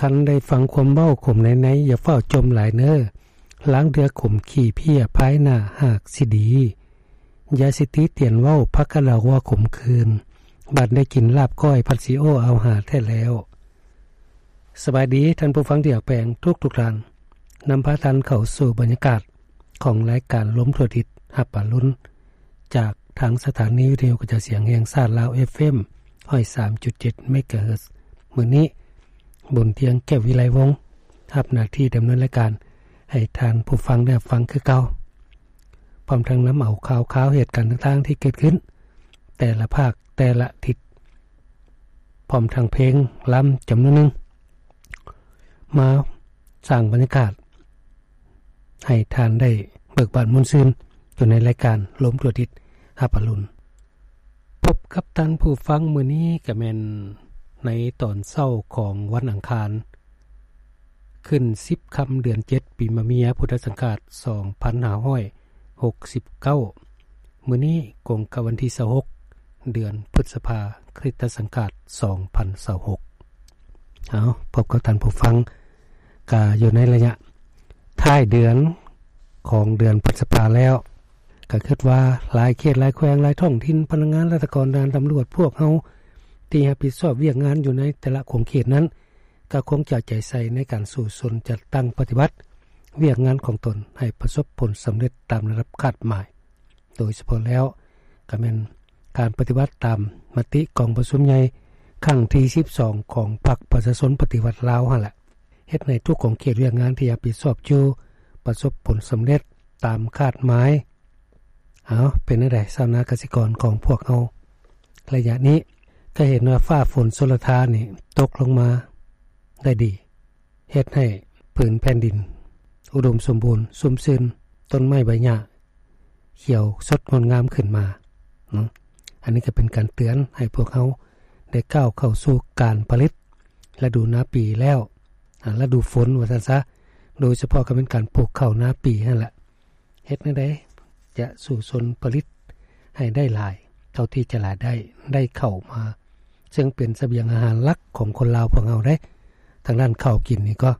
ຄັນໄດ້ຟັງຄວາມເວົ້າຂົມໃນໃນ ຢ່າຟ້າວຈົ່ມຫຼາຍເນີ. ລາງເທື່ອຂົມຂີ້ເພຍ ພາຍໜ້າຫາກຊິດີ. ຢ່າຊິຕິຕຽນເວົ້າ ຜັກກະດາຫົວຂົມຄືນ. ບັດໄດ້ກິນລາບກ້ອຍ ພັດຊິໂອ້ເອົາຫາແທ້ແລ້ວ. ສະບາຍດີທ່ານຜູ້ຟັງທີ່ຮັກແພງທຸກໆທ່ານ. ນຳພາທ່ານເຂົ້າສູ່ບັນຍາກາດຂອງລາຍການລົມທົ່ວທິດ ຮັບອາລຸນ ຈາກທາງສະຖານີວິທະຍຸກະຈາຍສຽງແຫ່ງຊາດລາວ ເອັຟເອັມ ຮ້ອຍສາມຈຸດເຈັດ ເມກາເຮີດ. ມື້ນີ້ ບຸນທຽງ ແກ້ວວິໄລວົງ ຮັບໜ້າທີ່ດຳເນີນລາຍການໃຫ້ທ່ານຜູ້ຟັງໄດ້ຮັບຟັງຄືເກົ່າ, ພ້ອມທັງນຳເອົາຂ່າວຄາວເຫດການຕ່າງໆທີ່ເກີດຂຶ້ນແຕ່ລະພາກແຕ່ລະທິດ, ພ້ອມທັງເພງລຳຈຳນວນໜຶ່ງ ມາສ້າງບັນຍາກາດໃຫ້ທ່ານໄດ້ເບີກບານມ່ວນຊື່ນ ຢູ່ໃນລາຍການລົມທົ່ວທິດ ຮັບອາລຸນ. ພົບກັບທ່ານຜູ້ຟັງມື້ນີ້ກະແມ່ນໃນຕອນເຊົ້າຂອງວັນອັງຄານ ຂຶ້ນສິບຄ່ຳເດືອນເຈັດ ປີມະເມຍ ພຸດທະສັງຄາດ ສອງພັນຫ້າຮ້ອຍຫົກສິບເກົ້າ. ມື້ນີ້ກົງກັບວັນທີຊາວຫົກ ເດືອນພຶດສະພາ ຄຣິສຕະສັງຄາດ ສອງພັນຊາວຫົກ. ເອົາ ພົບກັບທ່ານຜູ້ຟັງ ກະຢູ່ໃນໄລຍະທ້າຍເດືອນຂອງເດືອນພຶດສະພາແລ້ວ, ກະຄິດວ່າຫຼາຍເຂດຫຼາຍແຂວງ ຫຼາຍທ້ອງຖິ່ນ, ພະນັກງານລັດຖະກອນ, ດ່ານຕຳຫຼວດ, ພວກເຮົາທີ່ຮັບຜິດຊອບວຽກງານຢູ່ໃນແຕ່ລະຂົງເຂດນັ້ນ ກະຄົງຈະເອົາໃຈໃສ່ໃນການສູ້ຊົນຈັດຕັ້ງປະຕິບັດວຽກງານຂອງຕົນໃຫ້ປະສົບຜົນສຳເລັດຕາມລະດັບຄາດໝາຍ. ໂດຍສະເພາະແລ້ວກະແມ່ນການປະຕິບັດຕາມມະຕິກອງປະຊຸມໃຫຍ່ຄັ້ງທີສິບສອງຂອງພັກປະຊາຊົນປະຕິວັດລາວຫັ້ນແຫຼະ, ເຮັດໃຫ້ທຸກຂົງເຂດວຽກງານທີ່ຮັບຜິດຊອບຢູ່ປະສົບຜົນສຳເລັດຕາມຄາດໝາຍ. ເອົາ ເປັນແນວໃດຊາວນາກະສິກອນຂອງພວກເຮົາ ໄລຍະນີ້ກະເຫັນວ່າຟ້າຝົນຊົນລະທານນີ້ຕົກລົງມາໄດ້ດີ. ເຮັດໃຫ້ຜືນແຜ່ນດິນອຸດົມສົມບູນ, ຊຸ່ມຊື່ນ, ຕົ້ນໄມ້ໃບຫຍ້າຂຽວສົດງົດງາມຂຶ້ນມາເນາະ. ອັນນີ້ກະເປັນການເຕືອນໃຫ້ພວກເຮົາໄດ້ກ້າວເຂົ້າສູ່ການຜະລິດລະດູນາປີແລ້ວ, ອາ ລະດູຝົນວ່າຊັ້ນຊະ, ໂດຍສະເພາະກະແມ່ນການປູກເຂົ້ານາປີຫັ້ນແຫຼະ. ເຮັດແນວໃດຈະສູ້ຊົນຜະລິດໃຫ້ໄດ້ຫຼາຍເທົ່າທີ່ຈະຫຼາຍໄດ້, ໄດ້ເຂົ້າມາ ເຊິ່ງເປັນສະບຽງອາຫານຫຼັກຂອງຄົນລາວພວກເຮົາເດ້. ທາງດ້ານເຂົ້າກິນນີ້ກໍ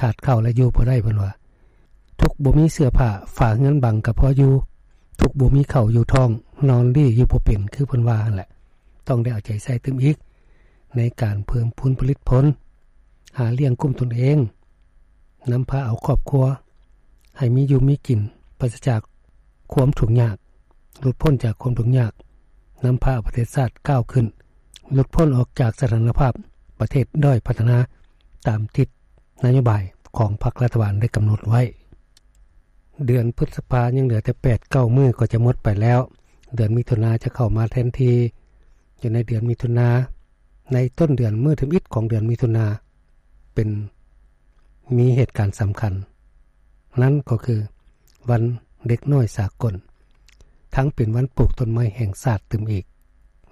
ຂາດເຂົ້າແລ້ວຢູ່ບໍ່ໄດ້ເພິ່ນວ່າ, ທຸກບໍ່ມີເສື້ອຜ້າ, ຝາເຮືອນບັງກະພໍຢູ່, ທຸກບໍ່ມີເຂົ້າຢູ່ທ້ອງ, ນອນດີຢູ່ບໍ່ເປັນ ຄືເພິ່ນວ່າຫັ້ນແຫຼະ. ຕ້ອງໄດ້ເອົາໃຈໃສ່ຕື່ມອີກໃນການເພີ່ມພູນຜະລິດຜົນ, ຫາລ້ຽງກຸ້ມຕົນເອງ, ນຳພາເອົາຄອບຄົວໃຫ້ມີຢູ່ມີກິນ, ປາສະຈາກຄວາມທຸກຍາກ, ຫຼຸດພົ້ນຈາກຄວາມທຸກຍາກ, ນຳພາເອົາປະເທດຊາດກ້າວຂຶ້ນ, ຫຼຸດພົ້ນອອກຈາກສະຖານະພາບປະເທດດ້ອຍພັດທະນາ ຕາມທິດນະໂຍບາຍຂອງພັກລັດຖະບານໄດ້ກຳນົດໄວ້. ເດືອນພຶດສະພາຍັງເຫຼືອແຕ່ແປດເກົ້າມື້ກໍຈະໝົດໄປແລ້ວ, ເດືອນມິຖຸນາຈະເຂົ້າມາແທນທີ່. ຢູ່ໃນເດືອນມິຖຸນາ, ໃນຕົ້ນເດືອນ ມື້ທຳອິດຂອງເດືອນມິຖຸນາ ເປັນ ມີເຫດການສຳຄັນ, ນັ້ນກໍຄືວັນເດັກນ້ອຍສາກົນ, ທັງເປັນວັນປູກຕົ້ນໄມ້ແຫ່ງຊາດຕື່ມອີກ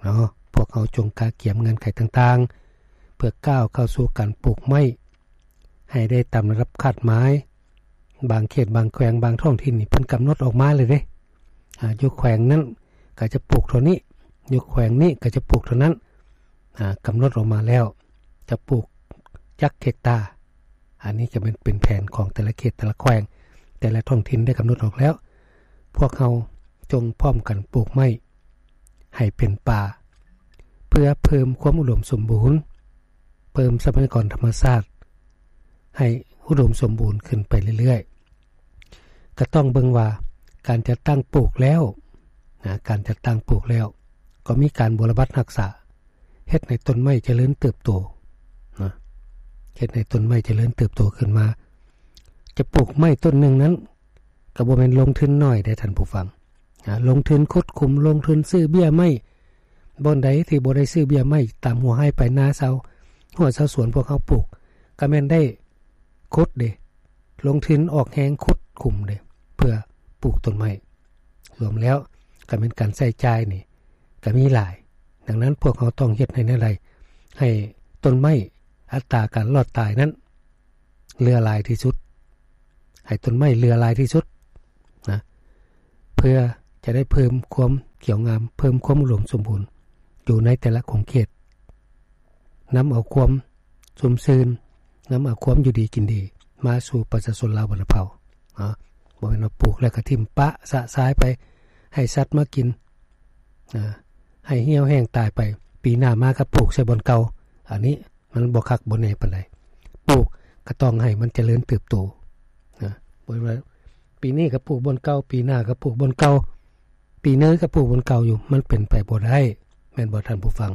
ເນາະ. ພວກເຮົາຈົ່ງກະກຽມເງື່ອນໄຂຕ່າງໆ ເພື່ອກ້າວເຂົ້າສູ່ການປູກໄມ້ໃຫ້ໄດ້ຕາມລະດັບຄາດໝາຍ. ບາງເຂດບາງແຂວງບາງທ້ອງຖິ່ນນີ້ເພິ່ນກຳນົດອອກມາເລີຍເດ້, ອາ ຢູ່ແຂວງນັ້ນກະຈະປູກເທົ່ານີ້, ຢູ່ແຂວງນີ້ກະຈະປູກເທົ່ານັ້ນ, ອາ ກຳນົດອອກມາແລ້ວ ຈະປູກຈັກເຮັກຕາ. ອັນນີ້ກະແມ່ນເປັນແຜນຂອງແຕ່ລະເຂດ ແຕ່ລະແຂວງ ແຕ່ລະທ້ອງຖິ່ນໄດ້ກຳນົດອອກແລ້ວ. ພວກເຮົາຈົ່ງພ້ອມກັນປູກໄມ້ໃຫ້ເປັນປ່າ ເພື່ອເພີ່ມຄວາມອຸດົມສົມບູນ, ເພີ່ມຊັບພະຍາກອນທຳມະຊາດໃຫ້ອຸດົມສົມບູນຂຶ້ນໄປເລື້ອຍໆ. ກະຕ້ອງເບິ່ງວ່າການຈັດຕັ້ງປູກແລ້ວນະ, ການຈັດຕັ້ງປູກແລ້ວກໍມີການບົວລະບັດຮັກສາ, ເຮັດໃຫ້ຕົ້ນໄມ້ຈະເລີນເຕີບໂຕນະ, ເຮັດໃຫ້ຕົ້ນໄມ້ຈະເລີນເຕີບໂຕຂຶ້ນມາ. ຈະປູກໄມ້ຕົ້ນໜຶ່ງນັ້ນກໍບໍ່ແມ່ນລົງທຶນໜ້ອຍເດ້ທ່ານຜູ້ຟັງ. ອາ ລົງທຶນຂຸດຂຸມ, ລົງທຶນຊື້ເບ້ຍໄມ້, ບ່ອນໃດທີ່ບໍ່ໄດ້ຊື້ເບ້ຍໄມ້ ຕາມຫົວໄຮ່ປາຍນາຊາວ ຫົວຊາວສວນພວກເຮົາປູກ ກະແມ່ນໄດ້ຂຸດເດ້, ລົງທຶນອອກແຮງຂຸດຂຸມເດ້ ເພື່ອປູກຕົ້ນໄມ້. ລວມແລ້ວກະແມ່ນການໃຊ້ຈ່າຍນີ້ກະມີຫຼາຍ. ດັ່ງນັ້ນພວກເຮົາຕ້ອງເຮັດໃຫ້ແນວໃດ ໃຫ້ຕົ້ນໄມ້ ອັດຕາການລອດຕາຍນັ້ນເຫຼືອຫຼາຍທີ່ສຸດ, ໃຫ້ຕົ້ນໄມ້ເຫຼືອຫຼາຍທີ່ສຸດນະ. ເພື່ອຈະໄດ້ເພີ່ມຄວາມຂຽວງາມ, ເພີ່ມຄວາມອຸດົມສົມບູນຢູ່ໃນແຕ່ລະຂົງເຂດ, ນຳເອົາຄວາມຊຸ່ມຊື່ນ ນຳເອົາຄວາມຢູ່ດີກິນດີມາສູ່ປະຊາຊົນລາວບັນດາເຜົ່າເນາະ. ບໍ່ແມ່ນວ່າປູກແລ້ວກໍຖິ້ມປະຊະຊາຍໄປ ໃຫ້ສັດມາກິນ ອາ ໃຫ້ຫ່ຽວແຫ້ງຕາຍໄປ ປີໜ້າມາກໍປູກໃສ່ບ່ອນເກົ່າ. ອັນນີ້ມັນບໍ່ຄັກບໍ່ແນ່ປານໃດ. ປູກກໍຕ້ອງໃຫ້ມັນຈະເລີນເຕີບໂຕນະ ບໍ່ແມ່ນວ່າປີນີ້ກໍປູກບ່ອນເກົ່າ ປີໜ້າກໍປູກບ່ອນເກົ່າ ປີໜ້າກໍປູກບ່ອນເກົ່າຢູ່ ມັນເປັນໄປບໍ່ໄດ້ ແມ່ນບໍ່ທ່ານຜູ້ຟັງ?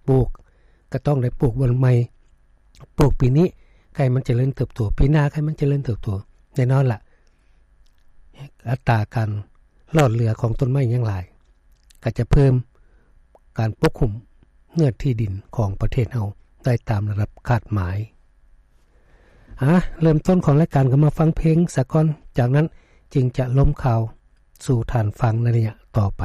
ປູກກໍຕ້ອງໄດ້ປູກບ່ອນໃໝ່ ປູກປີນີ້ໃຫ້ມັນຈະເລີນເຕີບໂຕ ປີໜ້າໃຫ້ມັນຈະເລີນເຕີບໂຕ. ແນ່ນອນລະ ອັດຕາການຫຼອດເຫຼືອຂອງຕົ້ນໄມ້ຍັງຫຼາຍ ກໍຈະເພີ່ມການປົກຫຸ້ມເນື້ອທີ່ດິນຂອງປະເທດເຮົາໄດ້ຕາມລະດັບຄາດໝາຍ. ອາ ເລີ່ມຕົ້ນຂອງລາຍການກໍມາຟັງເພງສາກ່ອນ ຈາກນັ້ນຈຶ່ງຈະລົມຂ່າວສູ່ທ່ານຟັງໃນໄລຍະຕໍ່ໄປ.